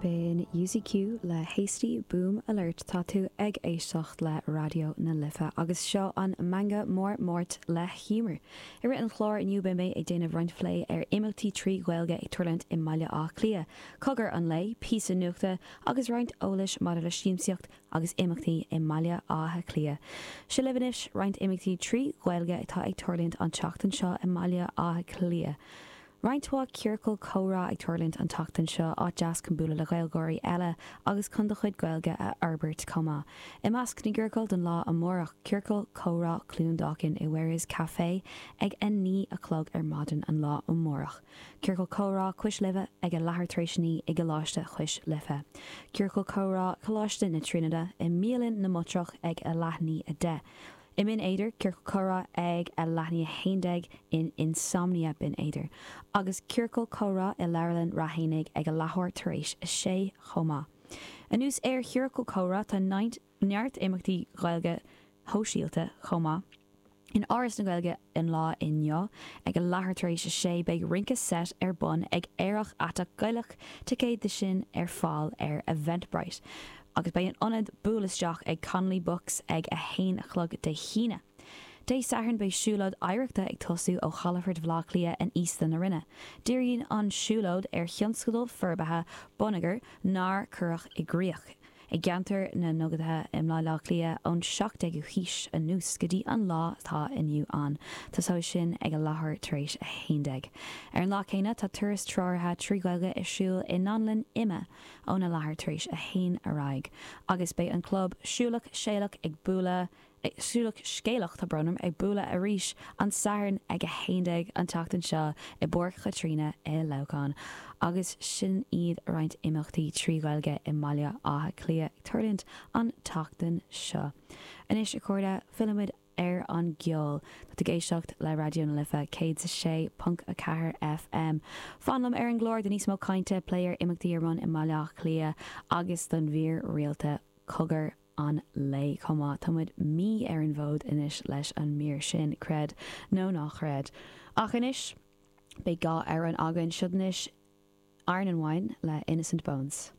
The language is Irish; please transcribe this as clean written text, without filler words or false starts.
B'in UCQ le Hasty Boom Alert. Tá tú ag éisteacht le Raidió na Life agus seo an Meangadh Mór Máirt le hEmer. I rith an chláir inniu beidh mé ag déanamh roinnt phlé ar imeachtaí 3 Ghaeilge ag tarlúint i mBaile Átha Cliath, Cogar an Lae, píosa nuachta agus roinnt eolais maidir le siamsaíocht agus imeachtaí i mBaile Átha Cliath. Seo libh anois roinnt imeachtaí 3 Ghaeilge atá ag tarlúint an tseachtain seo i mBaile Átha Cliath. Roinnt mhaith ciorcal comhrá ag tarlúint an tseachtain seo, áit deas chun bualadh le Gaeilgeoirí eile agus chun do chuid Gaeilge a fhorbairt chomh maith. I measc na gciorcal don lá amárach, Ciorcal Comhrá Cluain Dolcáin i Whereis Café ag 9 a chlog ar maidin an lá amárach. Ciorcal Comhrá Cois Life ag a leathuair tar éis a 9 i gColáiste Chois Life. Ciorcal Comhrá Choláiste na Tríonóide i mBialann na mBatrach ag a leath i ndiaidh 10. I mBinn Éadair, Ciorcal Comhrá ag a leath i ndiaidh 11 in Insomnia, Binn Éadair, agus Ciorcal Comhrá i Leabharlann Ráth Éanaigh ag a leathuair tar éis a sé chomh maith. Anuas ar Chiorcal Comhrá tá neart imeachtaí Gaeilge shóisialta chomh maith. In Áras na Gaeilge an lá inniu ag a leathuair tar éis a sé beidh rince seit ar bun ag Aerach Aiteach Gaelach, ticéid de sin ar fáil ar Eventbrite. Agus beidh an ionad buail isteach ag Connolly Books ag a haon a chlog Dé hAoine. Dé Sathairn beidh siúlóid oidhreachta ag tosú ó chalafort Bhaile Átha Cliath in Íosta na Rinne. Díríonn an siúlóid ar thionscadail forbartha bonneagair nár cuireadh i gcrích i gceantar na nDugaí i mBaile Átha Cliath ón 17ú haois anuas go dtí an lá atá inniu ann. Tosóidh sin ag a leathuair tar éis a 11. Ar an lá céanna tá turas treoraithe 3 Ghaeilge ar siúl i nDánlann IMMA óna leathuair tar éis a haon ar aghaidh agus beidh an club Siúlach Séalach ag bualadh, Siúlach Scéalach, tá brón orm, ag bualadh arís an Satharn ag 11 an tseachtain seo i bPáirc Chaitríona i Leamhcán. Agus sin iad roinnt imeachtaí 3 Ghaeilge i mBaile Átha Cliath ag tarlúint an tseachtain seo. Anois a chairde, fillfimid ar an gceol. Tá tú ag éisteacht le Raidió na Life 106.4 FM. Fan liom ar an gclár do níos mó cainte, plé ar imeachtaí ar bun i mBaile Átha Cliath agus don mhír rialta Cogar an Lae chomh maith. Tá muid mí ar an bhfód anois leis an mír sin, creid nó ná chreid. Ach anois, beidh dhá amhrán againn. Seo anois Iron and Wine le Innocent Bones.